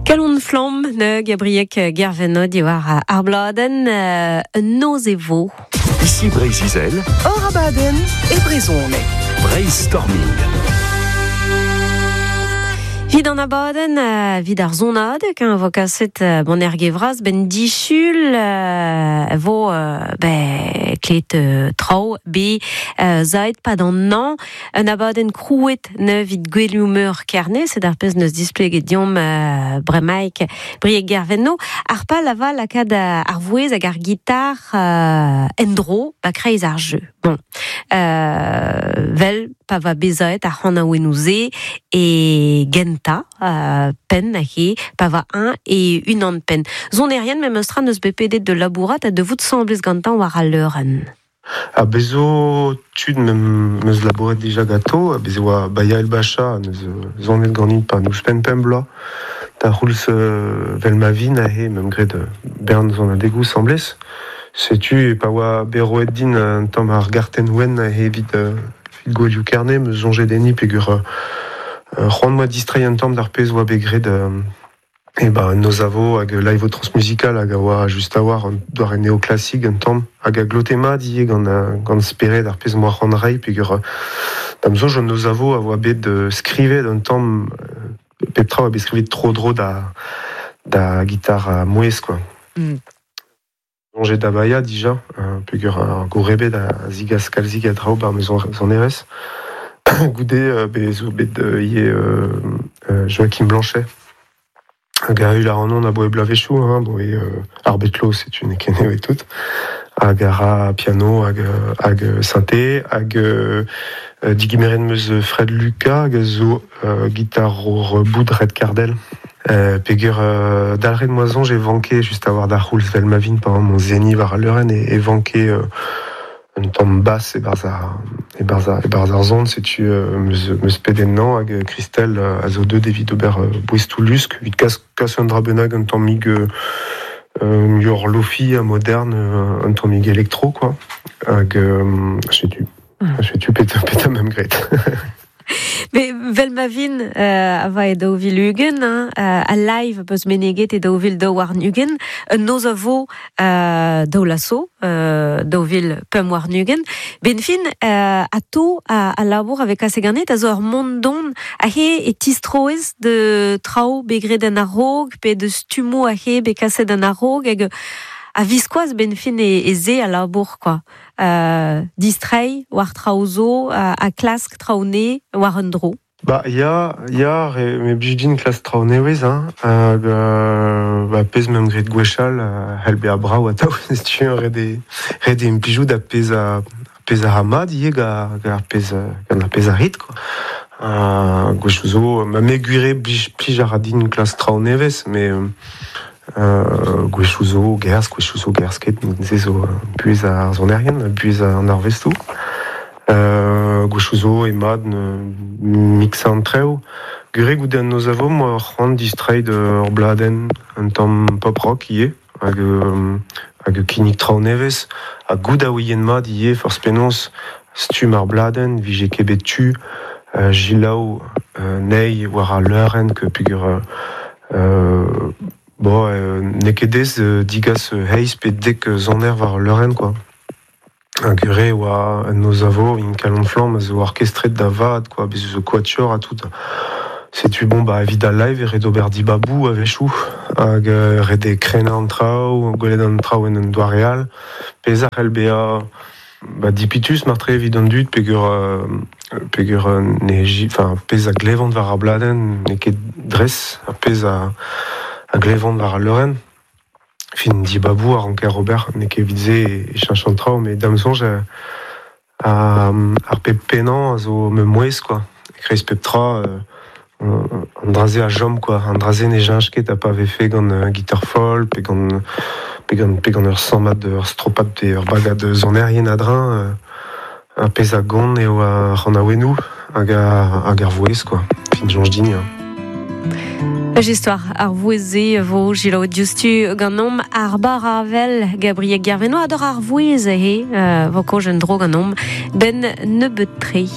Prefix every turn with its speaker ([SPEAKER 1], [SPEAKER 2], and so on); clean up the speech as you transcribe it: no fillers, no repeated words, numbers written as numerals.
[SPEAKER 1] Kalon flamm ne Gabriek Gervenno diwar ar bladenn un noz e vo.
[SPEAKER 2] Ici Breizh-Izel.
[SPEAKER 3] Hor abadenn e brezhoneg.
[SPEAKER 2] Brainstorming.
[SPEAKER 1] Vit an abadenn, vit ar sonadeg, hein, vo kaset bon ergevraz ben disul vo ben klet traoù be zaet pad an an Un abadenn krouet neuvit gwelioù meur Kerne, sed ar pezh neus displeget deomp bremaik Brieg Gervenno. Ar pal a va lakaat ar vouezh hag ar gitar en-dro ba kreiz ar jeu. Bon, vel pa va bezaet ar c'hanaouennoù-se e gentañ penn he pa va eñ e unan penn. Sonerien memes tra neus bet pedet da labourat ha da vout 'sambles gantañ war al leurenn.
[SPEAKER 4] Ha bez zo tud meus labouret dija ganto, ha bez e oa Baya El Bacha neus sonet ganin 'pad ouzhpenn pemp bloaz. Da c'houlz 'vel ma vin aze meump graet bern sonadegoù 'sambles. Setu pa oa bet roet din un tamm ar gartenn wenn aze evit gouelioù Kerne, 'meus soñjet enni peogwir c'hoant 'moa distreiñ un tamm d'ar pezh 'oa bet graet E ba noz a vo hag live transmusical hag a oa just a-walc'h un doare neoklasik un tamm hag a glote mat ivez gant gant spered ar pezh 'moa c'hoant reiñ peogwir da'm soñj an noz a vo a oa bet skrivet un tamm pep tra a oa bet skrivet tro-dro da da gitar ha mouezh quoi. Soñjet da baeañ dija peogwir ar gourrebed a zigas kalzik a draoù 'ba ma sonerezh. Goude bez zo bet ivez Joachim Blanchet hag a heul ac'hanon aboe bloavezhioù hein, aboe ar bed-klo setu n'eo ket nevez tout. Hag a ra piano hag hag synthé hag digemeret 'm eus Fred Lucas hag a zo gitarour boud Red Cardell. Peogwir dalc'het 'moa soñj e vanke just a-walc'h d'ar c'houlz 'vel ma vin pa emañ seniñ war al leurenn e vanke un tamm bas e-barzh ar e-barzh ar e-barzh ar son setu 'meus pedet ennañ hag Christelle a zo deuet evit ober boestoù lusk evit kas kas un dra bennak un tammig muioc'h lofi ha modern un tammig elektro quoi hag setu setu petra 'meump graet.
[SPEAKER 1] Mais vel ma vin a va e 2020, hein, al live peus meneget e 2022, un noz a vo daou-laso, 2025. Ben fin, ato a labour a vez kaset ganit a zo ur mont don ahe e tistroez de traoù bet graet en a-raok pe de stummoù ahe bet kaset en a-raok hag a-viskoazh ben fin e se a labour quoi. Distreiñ war traoù zo ha klask traoù nez war un dro.
[SPEAKER 4] Ba ya, ya, me blij din klask traoù nevez hein, hag ba pezh 'meump graet gwechall a c'hell bezañ brav atav setu ret eo ret eo implijout ar pezh a pezh a ra mat ivez gant ar pezh gant ar pezh a rit quoi. Gwechoù zo, ma me gwir eo blij plij a ra din klask traoù nevez met Gwechoù zo gerzh, gwechoù zo gerzh ket, se zo buhez ar sonerien, buhez an arvestoù. Gwechoù zo eo mat miksañ an traoù. Gwir goude an noz a vo 'moa c'hoant distreiñ d'ur bladenn un tamm pop rock ivez hag hag kinnig traoù nevez. Ha goût a ouien mat ivez forzh penaos stumm ar bladenn 'vije ket bet tu selaou anezhi war al leurenn peogwir Bon, n'eo ket aes digas eizh pe dek soner war al leurenn quoi. Hag re e oa un noz a vo, in Kalon Flamm a zo orkestret da vat quoi, bez' zo quatuor ha tout. Setu bon bah evit al live e ret ober dibaboù a-wechoù hag ret eo krennañ an traoù, gwelet an traoù en un doare all. Pezh a c'hell bezañ Ba dipitus martre evit an dud peogwir peogwir ne enfin pezh a glevont war ar bladenn n'eo ket dres ar pezh a a glevont war al leurenn. Fin dibaboù a ranker ober, n'eo ket evit se e cheñch an traoù met da'm soñj ar pep pennañ a zo ma mouezh quoi. E-kreiz pep tra an dra-se a chom quoi. An dra-se ne cheñch ket ha pa vefe gant gitar folk pe gant pe gant pe gant ur sammad ur stropad pe ur bagad sonerien a-dreñv. Ar pezh a gont eo ar c'hanaouennoù hag hag ar vouezh quoi. Fin soñj din ya.
[SPEAKER 1] Istor ar vouezh-se vo selaouet diouzhtu ganeomp ar barr-avel Gabriel Gerveno ador ar vouezh he vo kaoz en-dro ganeomp 'benn nebeut-tre.